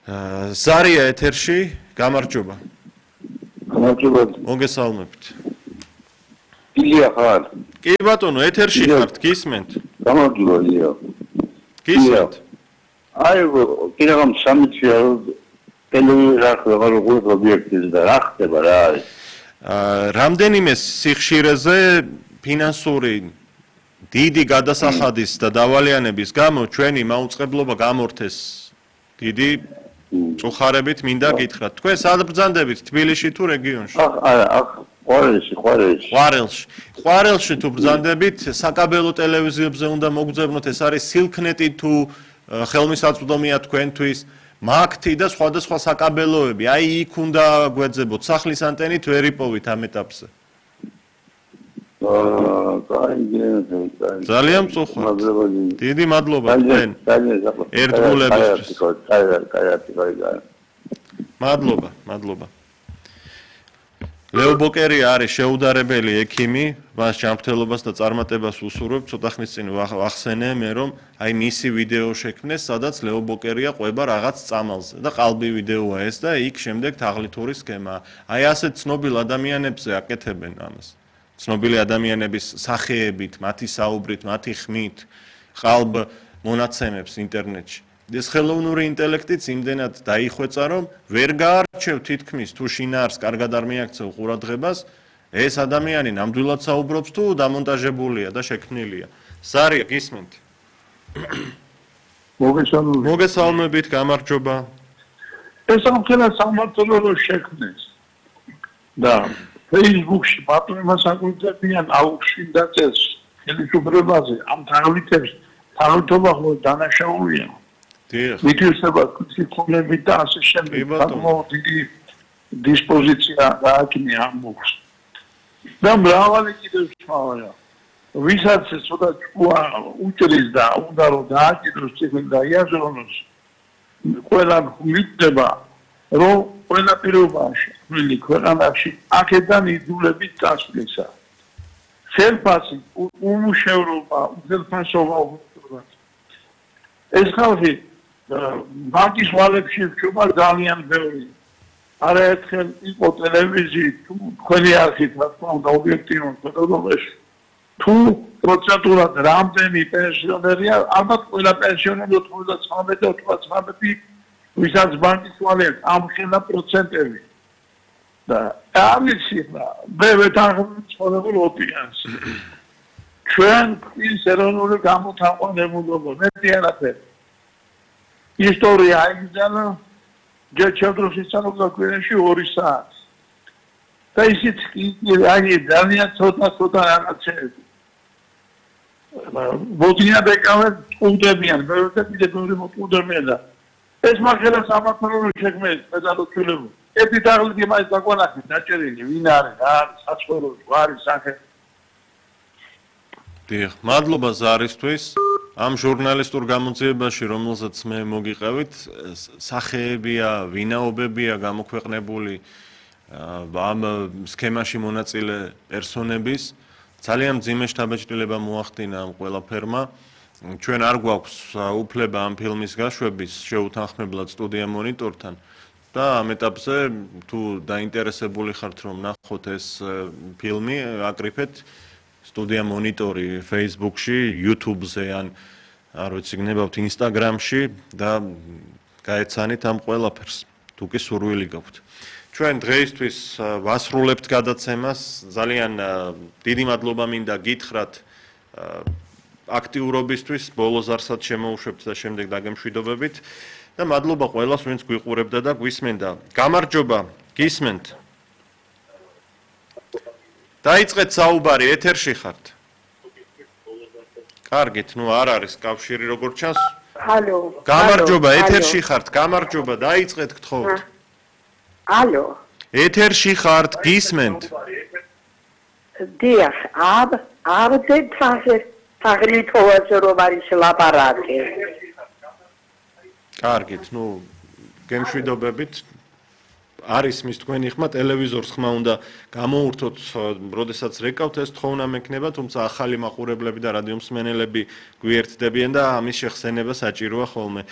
ზარია ეთერში, გამარჯობა. გამარჯობა. მოგესალმებით. ილია ხარ? კი ბატონო, ეთერში ხართ, გისმენთ? გამარჯობა, ილია. გისმენთ. აი, კიდევ სამიცია ტელევიზორზე როგორ ობიექტის და რა ხდება რა არის? რამდენიმე სიხშირეზე ფინანსური დიდი გადასახადის და დავალიანების გამო ჩვენი მაუწყებლობა გამორთეს. დიდი წუხარებით მინდა გითხრათ. თქვენ სად ბრძანდებით თბილისში თუ რეგიონში? ყვარელში თუ ბრძანდებით, საკაბელო ტელევიზიებზე უნდა მოგძებნოთ, ეს არის სილქნეტი თუ ხელმისაწვდომია თქვენთვის, მაგთი და სხვადასხვა საკაბელოები. აი იქ უნდა გვეძებოთ, სახლის ანტენით ვერ იპოვით ამ ეტაპზე. ძალიან მწუხართ. დიდი მადლობა თქვენ ერთგულებისთვის. მადლობა. ლეო ბოკერია არის შეუდარებელი ექიმი, მას ჯანმრთელობას და წარმატებას უსურვებ. ცოტა ხნის წინ ვახსენე მე რომ აი მისი ვიდეო შექმნეს, სადაც ლეო ბოკერია ყვება რაღაც წამალზე და ყალბი ვიდეოა ეს და იქ შემდეგ თაღლითური სქემა. აი ასეთ ცნობილ ადამიანებზე აკეთებენ ამას. ცნობილი ადამიანების სახეებით, მათი საუბრით, მათი ხმით, ყალბ მონაცემებს ინტერნეტში. ეს ხელოვნური ინტელექტიც იმდენად დაიხვეწა, რომ ვერ გაარჩევ თითქმის თუ შინაარს კარგად არ მიაქცევ ყურადღებას, ეს ადამიანი ნამდვილად საუბრობს თუ დამონტაჟებულია და შექმნილია. ზარია, გისმენთ? მოგესალმებით, გამარჯობა. ეს ამხელა სამართლო შექმნეს. და Facebook-ში პატრონებმა საკუთრებიან აუქში დაწეს ხელისუფლებაზე ამ თაღლითობა ხო დანაშაულია. მითვისება კუთვნილებით და ასე შემდეგ. დიდი დისპოზიცია გააჩნია ამ მოხს. და მრავალი კიდევ სხვა. ვისაც ცოტა უჭრის და უნდა რომ დააჭიროს ციხე და იაზრონოს, ყველა მიტდება, რომ ყველა პირობაში, მილი ქვეყანაში აქედან იძულებით წასვლისა. ხელფასი, უმუშევრობა, უძელფასობა უბრალოდ. ეს ხალხი ბანკის ვალებში რჩება ძალიან ბევრი. არაერთხელ იყო ტელევიზიით, თუ თქვენი არხით, რა თქმა უნდა, ობიექტიურად ფოტოგრაფიაში. თუ პროცენტულად რამდენი პენსიონერია, ალბათ ყველა პენსიონერი 99 ვისაც ბანკის ვალებს ამხელა პროცენტები. და ამისი მე ვეთანხმებ ცხოვრებულ ოპინიონს. ჩვენ ის ეროვნული გამოთაყვანებულობა მეტი არაფერი. ისტორია აიგზავნა ჯეჩოდროს ისწავლება გვერდში 2 საათი. და ისიც აი ძალიან ცოტა რაღაცები. ბოდია ბეკავენ უნდებიან, ბევრი კიდე ბევრი მოკუნდებიან და ეს მაგერა სამართლო შექმნეს პედაგოგიულები. ერთი თაღლითი მაინც დაგვანახეთ დაჭერილი, ვინ არის, რა არის, საცხოვრებელი, გვარი, სახე. დიახ, მადლობა ზარისთვის. ამ ჟურნალისტურ გამოძიებაში, რომელსაც მე მოგიყევით, სახეებია, ვინაობებია გამოქვეყნებული ამ სქემაში მონაწილე პერსონების. ძალიან მძიმე შთაბეჭდილება მოახდინა ამ ყველაფერმა. ჩვენ არ გვაქვს უფლება ამ ფილმის გაშვების შეუთანხმებლად სტუდია მონიტორთან და ამ ეტაპზე თუ დაინტერესებული ხართ რომ ნახოთ ეს ფილმი, აკრიფეთ სტუდია მონიტორი Facebook-ში, YouTube-ზე ან არ ვიცი, გნებავთ Instagram-ში და გაეცანით ამ ყველაფერს, თუ კი სურვილი გაქვთ. ჩვენ დღეისთვის ვასრულებთ გადაცემას, ძალიან დიდი მადლობა მინდა გითხრათ აქტიურობისთვის, ბოლოს არსად შემოუშვებთ და შემდეგ დაგემშვიდობებით და მადლობა ყველას, ვინც გვიყურებდა და გვისმენდა. გამარჯობა, გისმენთ? დაიწყეთ საუბარი, ეთერში ხართ. კარგით, ნუ არ არის კავშირი როგორც ჩანს. ალო. გამარჯობა, ეთერში ხართ, გამარჯობა, დაიწყეთ გთხოვთ. ალო. ეთერში ხართ, გისმენთ? დიახ, აბდე თაღლითოვაზე რომ არის ლაპარაკი. კარგით, ნუ გემშვიდობებით. არის მის თქვენი ხმა, ტელევიზორს ხმა უნდა გამოურთოთ, როდესაც რეკავთ ეს თხოვნა მექნება, თუმცა ახალი მაყურებლები და რადიომსმენელები გვიერთდებიან და ამის შეხსენება საჭიროა ხოლმე.